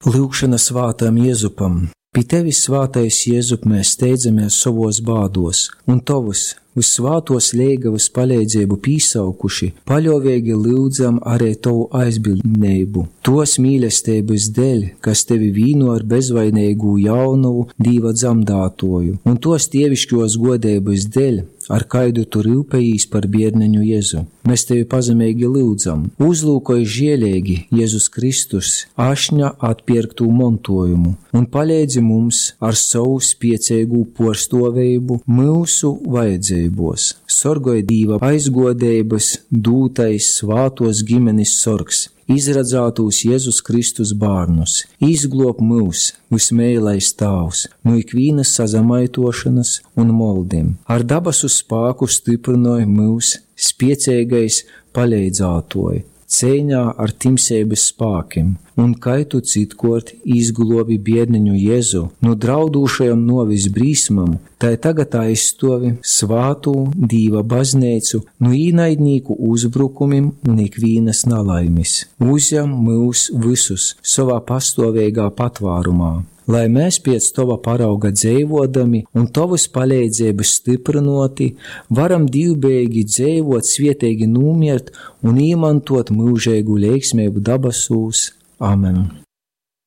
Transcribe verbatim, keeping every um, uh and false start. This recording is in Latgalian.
Lyugšona svātam Jezupam. Pi tevis, svātais Jezup, mēs steidzamies sovos bādos, un tovys vyssvātuos leigavys paleidzeibu pīsaukuši, paļuoveigi lyudzam ari tovu aizbildneibu. Tuos mīlesteibys deļ, kas tevi vīno ar bezvaineigū jaunovu Dīva dzamdātuoju, un tuos dieviškuos guodeibys deļ, ar kaidu tu ryupejīs par bierneņu Jezu. Mēs tevi pazemeigi lyudzam, uzlūkoj žieleigi Jezus Kristus ašņa atpierktū montuojumu un paleidzi mums ar sovu spieceigū puorstuoveibu myusu vajadzeibuos. Sorgoj Dīva aizguodeibys dūtais svātuos gimenis sorgs, izradzātūs Jezus Kristus bārnus. Izgluob myus, vysmeilais Tāvs, nu ikvīnys sazamaituošonys un moldim. Ar dabasu spāku styprynoj myus spieceigais paleidzātuoj ceiņā ar timseibys spākim, un kai tu citkuort izgluobi bierneņu Jezu nu draudūšajom nuovis brīsmom, tai tagad aizstuovi svātū Dīva bazneicu nu īnaidnīku uzbrukumim un ikvīnys nalaimis. Uzjam myus vysus sovā pastuoveigā patvārumā, lai mēs piec tova parauga dzeivodami un tovys paleidzeibys styprynuoti, varam dīvbejeigi dzeivot, svieteigi nūmiert un īmantuot myužeigu leiksmeibu dabasūs. Amen!